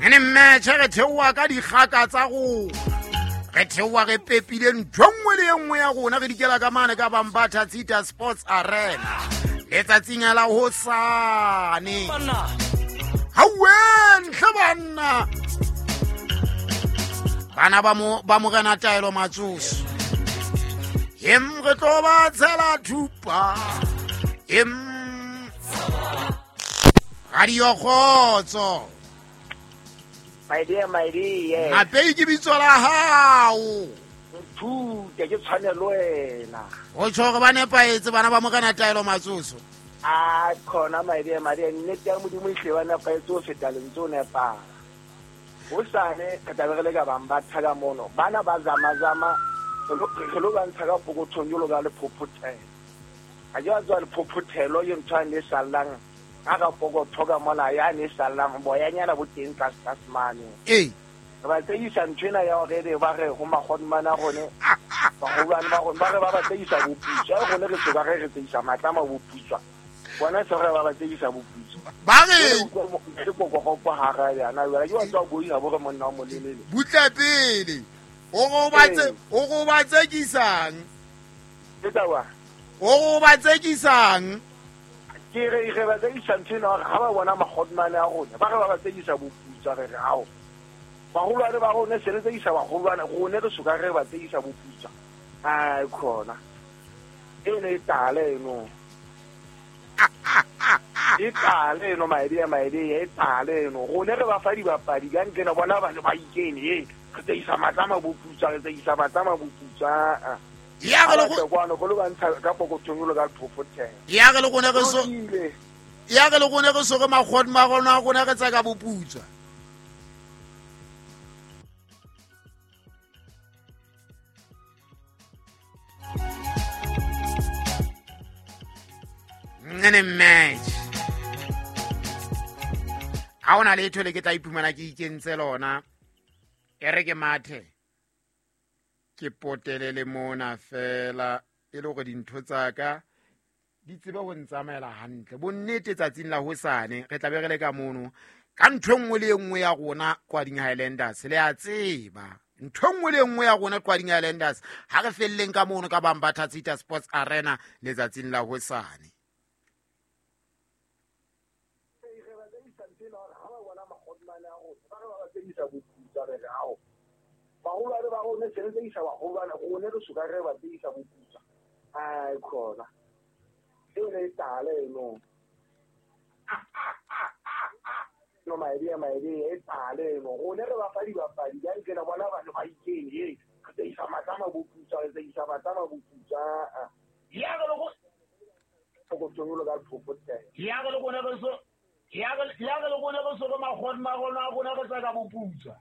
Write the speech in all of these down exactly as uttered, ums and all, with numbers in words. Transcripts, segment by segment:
Ene match re theoha ka dikgaka tsa rona. Re theoha re pepile ntho nngwe le e nngwe ya rona re dikela ka mane ka Bambatha Tsita Sports Arena. Letsatsing la hosane. Hawe ntle banna. Bana ba mo ba morena Taelo Matsoso. Em re tlo ba tshela thupa. Em Radio Khotso. My dear, my dear. Mapei ke bitso la hao. Nthute ke tshwanelo wena. O tjho hore ba nepahetse bana ba morena Taelo Matsoso. A khona my dear, my dear, nnete ya Modimo e hle ba nepahetse ho feta lentswe o nepahala. Hosane re tla be re le ka Bambatha ka mono. Bana ba zama-zama re lo ba ntsha ka pokothong jwalo ka lephophothelo. Ha ke wa tswa lephophothelo ke ntho e sallang ka ka pokotho ka mona ya ne sallang boyanyana bo teng tlase tlase mane. Ee. Re ba tseisa ntho ena ya hore ebe ba re ho makgodimane a rone baholwane ba rona ba re ba ba tseisa boputswa e rone re soka re re tseisa matlama boputswa bona se re ba ba tseisa boputswa ba re ke kokogopo hara yana jwale ke wa tswa boiha bo re monna wa molelele butle pele o go ba tse o go ba tsekisang ke taba o go ba tsekisang ke re re ba tsekisa ntho ena hore ha ba bona makgodimane a rona ba re ba ba tsekisa boputswa re re ao baholwane ba rona se re tsekisa baholwane rone re soka re ba tsekisa boputswa ai khona eno e tala eno e tala eno my dear, my dear, e tala eno rone re ba fa dibapadi ka ntlena bona ba ba ikene e re tsekisa matlama boputswa re tsekisa matlama boputswa ya re le go go lo ba ntsha ka pokothong lo ka phophothela ya re le gone re so ya re le gone re so re magodimo a rona rona re tsaka boputswa nene match ha ona letho le ke tla iphumana ke ikentse lona e re ke mathe ke potele le mona fela e le hore dintho tsa ka di tsebe ho ntsamaela hantle bonnete tsatsing la hosane re tla be re le ka mono ka ntho nngwe le nngwe ya rona Kwading Highlanders le a tseba ntho nngwe le nngwe ya rona Kwading Highlanders ha re felleng ka mono ka Bambatha Tsita Sports Arena letsatsing la hosane baholwane ba rona se re tsekisa baholwane rone re soka re ba tsekisa boputswa ai khona eno e tala eno no my dear, my dear, e tala eno rone re ba fa dibapadi ka ntlena bona ba ba ikene e re tsekisa matlama boputswa re tsekisa matlama boputswa ya re le go pokothong lo ka phophothela ya re le gone re so ya re ya re le gone re so re magodimo a rona rona re tsaka boputswa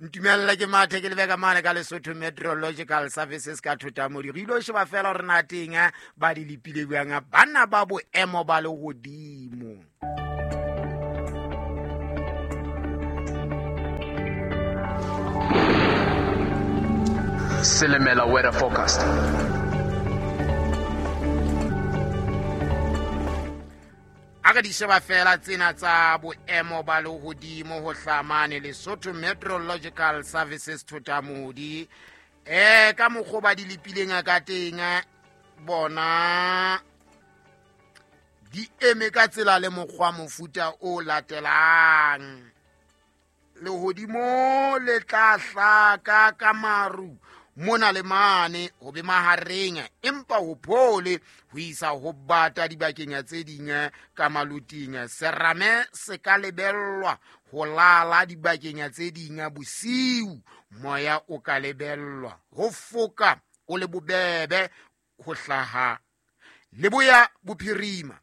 ntumella ke mathe ke lebeka mane ka Lesotho Meteorological Services ka Thotamodi re ilo sheba fela hore na teng ba di lepile bjang bana ba boemo ba lehodimo. Silimela weather forecast. A re di sheba fela tsena tsa boemo ba lehodimo ho hlamane Lesotho Meteorological Services Thotamodi eh ka mokgwa ba di lepileng ka teng bona di eme ka tsela le mokgwa mofuta o latelang lehodimo le tla hlaka ka maru mona le mane ho be mahareng empa ho phole ho isa ho bata dibakeng tse ding ka maluting serame se ka lebellwa ho lala dibakeng tse ding bosiu moya o ka lebellwa ho foka o le bobebe ho hlaha leboya bophirima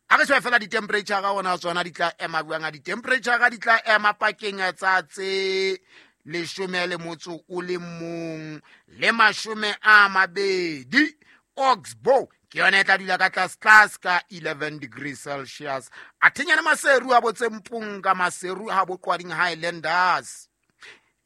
a re sheba fela di-temperature ga ona tsona di tla ema buang a di-temperature ga di tla ema pakeng tsa tse leshome le motso o le mong le mashome a mabedi Oxbow ke yona e tla dula ka tlase tlase ka eleven degrees Celsius a thenyana Maseru a botse Mpunga Maseru ha bo Qwading Highlanders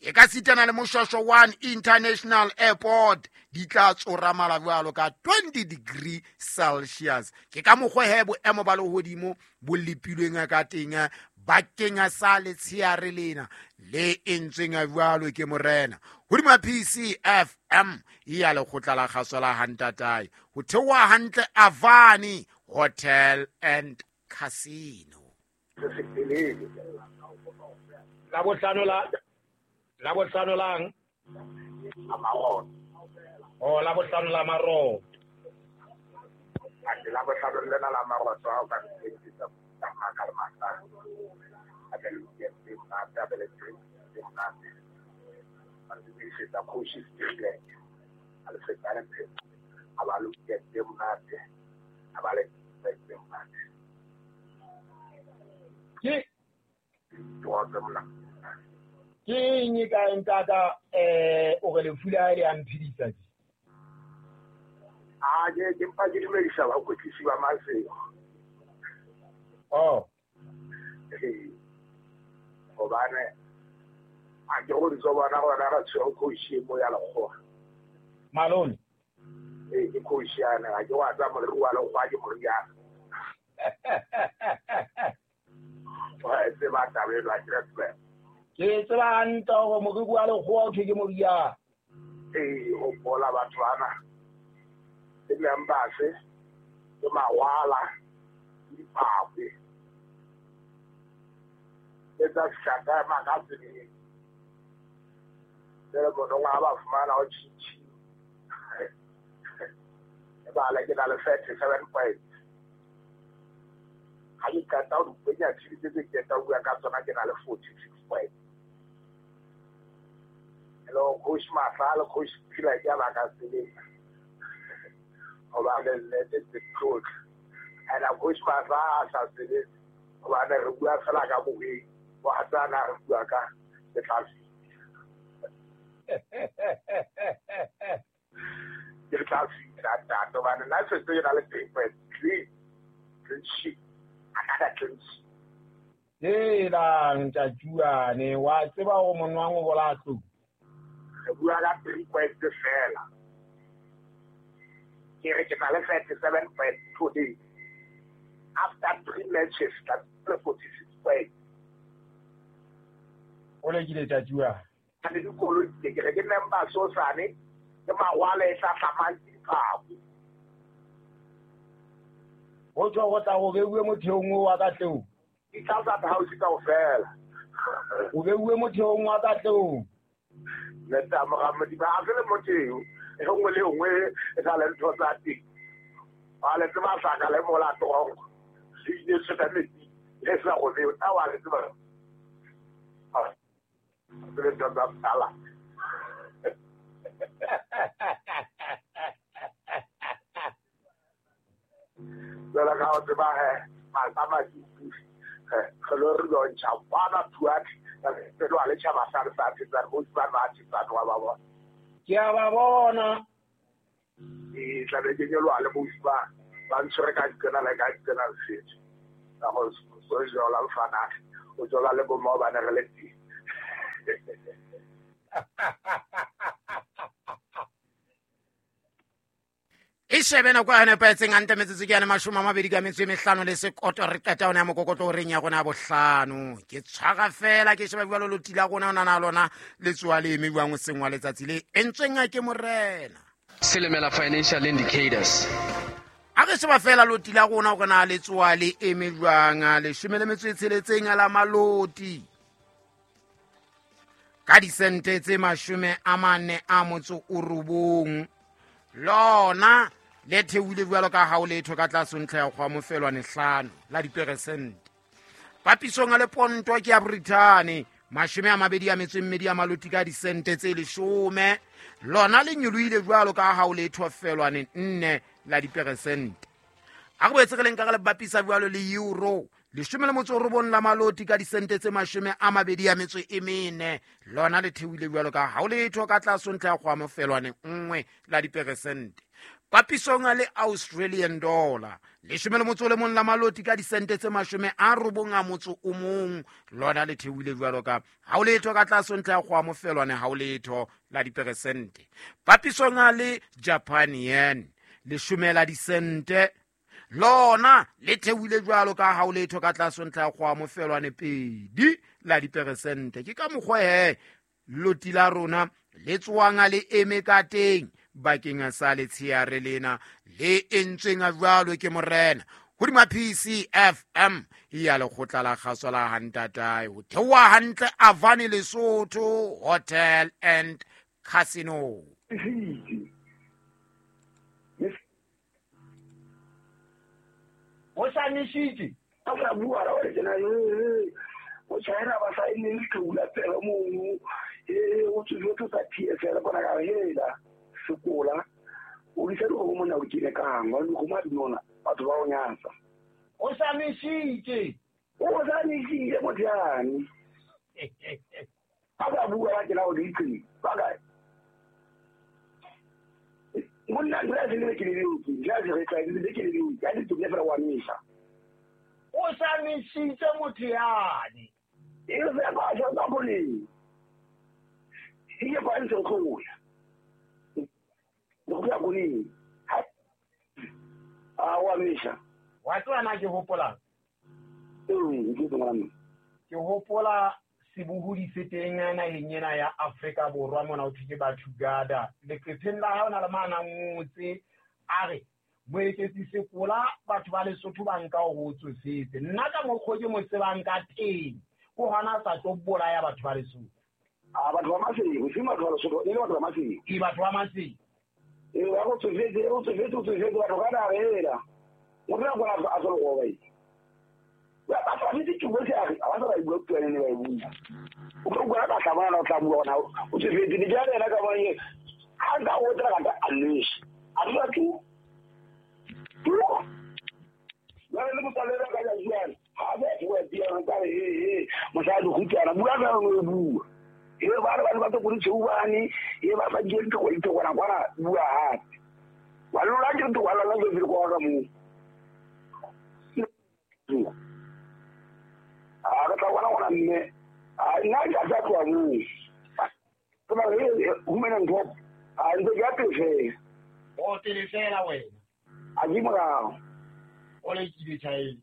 E ka sitana le Moshwashwa one International Airport di tla tsoramala jwalo ka twenty degree Celsius. Ke ka mokgwa he boemo ba lehodimo bo lepilweng ka teng bakeng sa letsheare lena le entsweng jwalo ke morena. Hodima P C F M ya lekgotla la kgaso la Hantatae ho theoha hantle Avani Hotel and Casino. La bohlano la la bohlano lang Amaroto. Oh, la bohlano la Maroto. A la bohlano lena la Maroto ha o ka ntse tsa maka le masa. A be le ke tse monate, a be le tse monate. A le se tsa coach Strickland. A le feta le phe. A ba le ke tse monate. A ba le tse monate. Ke twa tse monate. Ke eng e ka ntata eh o re lefu la le a mphidisa ke? A ke ke mpa ke dumedisa ba kwetlisi ba Masego. Oh. Ee. Hobane a ke go ntso bona gona ra tshwere coach mo ya lekgowa. Malone. Ee, ke coach yana, a ke wa tsa moriri wa lekgowa ke moriana. Wa e tseba taba eno, a ke re tsebe. Ke tseba hantle hore moriri wa lekgowa ke ke moriana. Ee, ho bola batho bana. Ke members, ke mawala, ke dipakwe. Ke tsa shaka magazine. Jwale bona ha ba fumana ho tjhitjhi. E ba le ke na le thirty-seven points. Ha ke qeta ho dipenya tjhelete tse ke qeta ho bua ka tsona ke na le forty-six points. Hello, coach Mahla le coach Phila ke ba ka tseleng. Hobane nnete ke tlotla. And coach Mahla a sa tsebe hobane re bua fela ka boheng. Wa tsana re bua ka ke tla ke tla fihla ntate hobane nna setse ke na le three point clean clean sheet another clean sheet. Helang tjatjuane wa tseba hore monwang o bola tlou. Re bua ka three point fela. Ke re ke na le thirty-seven point today. After three matches, that's forty-six points. O lekile tjatjuane. A le dikoloi ke re ke member so sane ke mawala e hlahlamang ke dipako. Ho tswa go tla go beuwe motheong wa ka tlou. Di tla tsa house kaofela. O beuwe motheong wa ka tlou. Le tsa moramodi ba a le motheo e nngwe le nngwe e tla le ntho tsa teng. Ba le tseba saka le mola trongo. Le ile se ka metsi le sa go beo tsa wa le tseba. Le tsa tsa tsala. Jwale ka o tseba he malapa ma re lo re lontšha kwana thuati re lo le tšhaba sa re sa tsa go ba ba tsa wa ba bona. Ke a ba bona. E tla be ke nyoloha le bosi ba ba ntshwere ka dikena le ka dikena le setso. Ka go so jola mfana o jola le bomma ba ne re le teng. E shebe nako ya nepahetseng hantle metsotso ke yane mashome a mabedi ka metso e mehlano le sekoto re qeta ona ya mokokotlo o reng ya rona ya bohlano. Ke tshwara fela ke sheba jwalo loti la rona ona na lona le tsoa le eme jwang hoseng wa letsatsi le entsweng ke morena. Silimela Financial Indicators. A re sheba fela loti la rona hore na le tsoa le eme jwang leshome le metso e tsheletseng la maloti. Ka disente tse mashome a mane a motso o robong. Lona le theohile jwalo ka ha o letho ka tlase ntlha ya kgwa mofelwane hlano la diperesente. Papisong le ponto ke ya Britain mashome a mabedi a metso e mmedi a maloti ka disente tse leshome. Lona le nyolohile jwalo ka ha o letho felwane nne la diperesente. A re boetse re le nka re le bapisa jwalo le euro leshome le motso o robong la maloti ka disente tse mashome a mabedi a metso e mene. Lona le theohile jwalo ka ha o letho ka tlase ntlha ya kgwa mofelwane nngwe la diperesente. Papisong le Australian dollar leshome le motso o le mong la maloti ka disente tse mashome a robong a motso o mong, lona le theohile jwalo ka ha o letho ka tlase ntlha ya kgoa mofelwane ha o letho la diperesente. Papisong le Japan yen leshome la disente lona le theohile jwalo ka ha o letho ka tlase ntlha ya kgoa mofelwane pedi la diperesente. Ke ka mokgwa he loti la rona le tswang le eme ka teng bakeng sa letsheare lena le entsweng jwalo ke morena hodima P C F M ya lekgotla la kgaso la Hantatae ho theoha hantle Avani Lesotho Hotel and Casino. O sa nishitse a sa bua ra o tsena e o tshwaela ba sa ene le tlola pela mono e o tsotso tsa P S L bona ka hela sekola o di tsere go mona o kile kang wa go ma dinona batho ba o nyatsa o sa nishitse o sa nishitse motlane a ba bua ba tsena o di itse ba ka monna nna se le ke le ke ja se re tla le ke le ke a di tlo fela wa misa o sa nishitse motlane e se ba ja ba bole e ba ntse go ya go ya go a wa misa wa tswana ke hopola ee ke tswana ke hopola sebohodi se teng naheng ena ya Afrika Borwa mona o thwe batho gada leqepheng la ha ona le mana ngotse a re Moeketsi Sekola batho ba Lesotho ba nka ho tsofetse nna ka mokgwa ke mo tsebang ka teng ko hona sa tlo bolaya batho ba Lesotho a batho ba Maseng se batho ba Lesotho e le batho ba Maseng e batho ba Maseng e ba go tsofetse o tsofetse o tsofetse batho ka na rela motho a bona a tsolo go ba ba ba tsofetse ke botse a ba sa ba bua puo ne ba e bua o ka bua ka tlabana o tla bua ona o tsofetse di ja rena ka ba ye ha nka o tla ka a lese a dula tu tu ba le mo tsale ka ja jwang ha ba bua dia ka re he he mosadi go tsana bua ka o bua e ba re ba ba go ditshubane e ba ba di go itse gona gona bua hape wa lona ke ntho wa lona ke go ka mo a ka tla bona gona mme a nna ke a tla tloa mo ke ba re humana ntho a ntse ke a pele o tele fela wena a di morao o le kile tjhae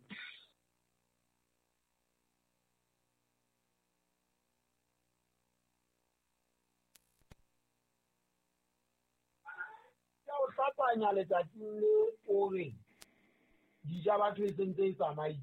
hlapanya letsatsing le o re dija batho e sentse e tsamaile